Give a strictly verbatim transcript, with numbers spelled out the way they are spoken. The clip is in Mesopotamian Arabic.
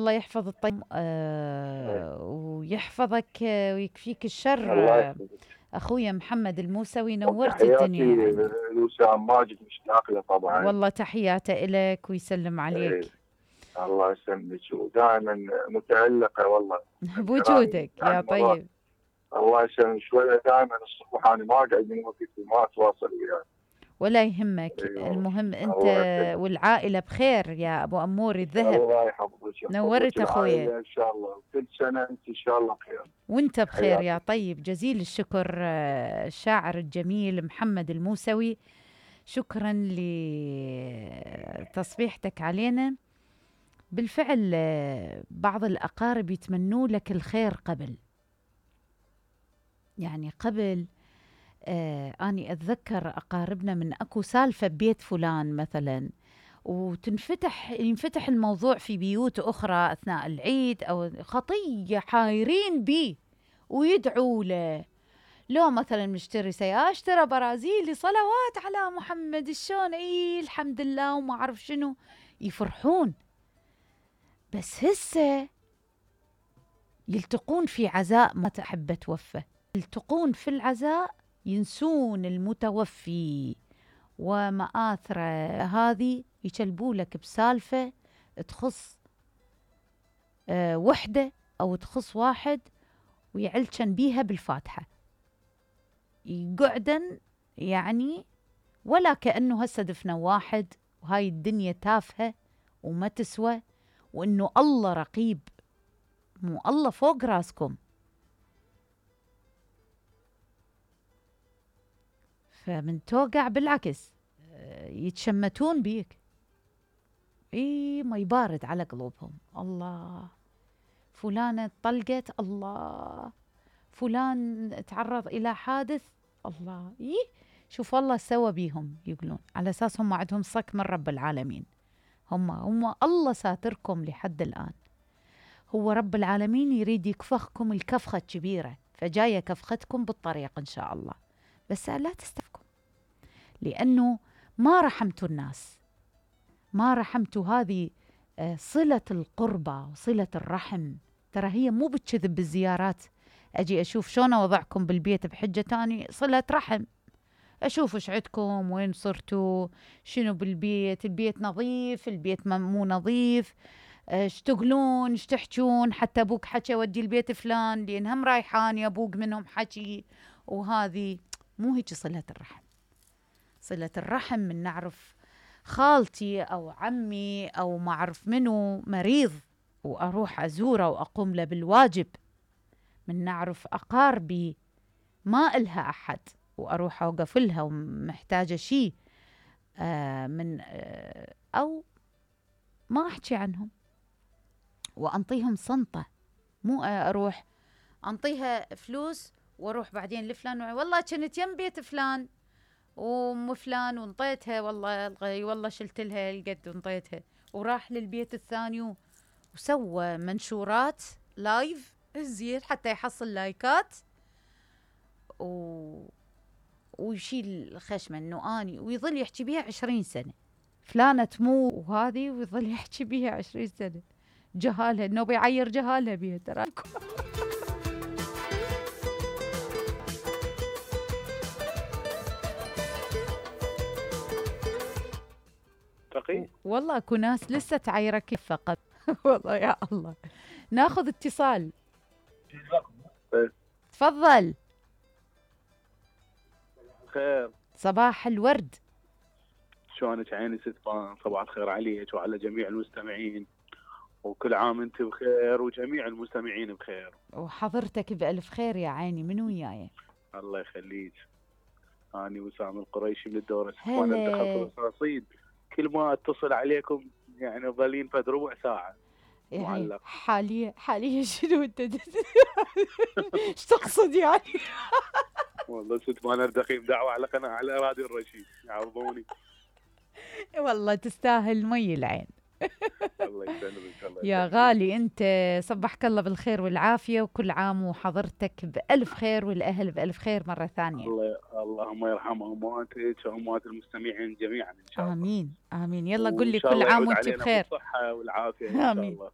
الله يحفظ الطيب آه ويحفظك ويكفيك الشر. الله آه يحفظك. اخويا محمد الموسوي نورت تحياتي الدنيا يعني. لوسام ماجد مشتاق له طبعا. والله تحياته إلك ويسلم عليك. إيه. الله يسلمك ودائما متألقة والله بوجودك يا طيب. الله يسلمك. شوية دائما الصبح أنا ما أقعد من وقت وما أتواصل وياك. ولا يهمك. أيوة. المهم أنت والعائلة بخير يا أبو أمور الذهب. الله يحفظك. نورت أخويا. إن شاء الله كل سنة أنت إن شاء الله بخير. وأنت بخير يا طيب. جزيل الشكر الشاعر الجميل محمد الموسوي. شكرا لتصبيحتك علينا. بالفعل بعض الأقارب يتمنوا لك الخير قبل، يعني قبل آه أني أتذكر أقاربنا من أكو سالفة ببيت فلان مثلا، وتنفتح ينفتح الموضوع في بيوت أخرى أثناء العيد أو خطية حايرين بيه ويدعوا له. لو مثلا مشتري سيارة اشترى برازيلي صلوات على محمد شلون اي الحمد لله وما أعرف شنو، يفرحون. بس هسه يلتقون في عزاء ما تحب توفى، يلتقون في العزاء ينسون المتوفي ومآثره هذه، يشلبوا لك بسالفة تخص أه وحدة أو تخص واحد ويعلشن بيها بالفاتحة، يقعدن يعني ولا كأنه هسه دفنا واحد وهاي الدنيا تافهة وما تسوى، وإنه الله رقيب، مو الله فوق راسكم. فمن توقع بالعكس يتشمتون بيك، اي ما يبارد على قلوبهم. الله فلانة طلقت، الله فلان تعرض إلى حادث، الله إيه شوف الله سوى بيهم، يقولون على أساس هم عندهم صك من رب العالمين. هم هم الله ساتركم لحد الآن. هو رب العالمين يريد يكفخكم الكفخة الكبيرة، فجاية كفختكم بالطريق إن شاء الله، بس لا تستفكم لأنه ما رحمتوا الناس، ما رحمتوا هذه صلة القربة وصلة الرحم. ترى هي مو بتكذب بالزيارات، أجي أشوف شلون وضعكم بالبيت بحجة تاني صلة رحم، أشوف إيش عندكم، وين صرتوا، شنو بالبيت، البيت نظيف، البيت مو نظيف، ايش تقولون، ايش تحجون، حتى أبوك حكى ودي البيت فلان لأن هم رايحان يا أبوك منهم حكي، وهذه مو هيك صلة الرحم. صلة الرحم من نعرف خالتي أو عمي أو ما أعرف منو مريض وأروح أزوره وأقوم له بالواجب، من نعرف أقاربي ما إلها أحد وأروح أوقف لها ومحتاجة شيء آه من آه أو ما أحكي عنهم وأنطيهم صنطة، مو أروح أنطيها فلوس وأروح بعدين لفلان والله كنت يم بيت فلان وام فلان وانطيتها، والله الغي والله شلت لها القد وانطيتها، وراح للبيت الثاني وسوى منشورات لايف زين حتى يحصل لايكات و... ويشيل خشمه انه اني، ويظل يحكي بيها عشرين سنة فلانة تمو وهذه، ويظل يحكي بيها عشرين سنة. جهالها انه بيعير جهالها بيها ترى. والله اكو ناس لسه تعيرك فقط. والله يا الله. ناخذ اتصال. تفضل. خير. صباح الورد. شلونك عيني ست فان؟ صباح الخير عليك وعلى جميع المستمعين، وكل عام انت بخير وجميع المستمعين بخير. وحضرتك بألف خير يا عيني. من وياي؟ الله يخليك. أنا وسام القريشي من الدورة ستفان الدخل في الرصيد. كل ما اتصل عليكم يعني ظلين فد ربع ساعة يعني معلق. حاليا حاليا شنو انت ايش تقصد يعني؟ والله ست مانر دخيم دعوة على قناة على راديو الرشيد يعوضوني. والله تستاهل مي العين. الله يسلمك. الله يا غالي انت صبحك الله بالخير والعافية، وكل عام وحضرتك بألف خير والأهل بألف خير مرة ثانية. الله اللهم يرحم أمواتك وأموات المستمعين جميعا إن شاء الله. آمين آمين. يلا قل لي كل عام وانت بخير. بالصحة والعافية إن شاء آمين. الله.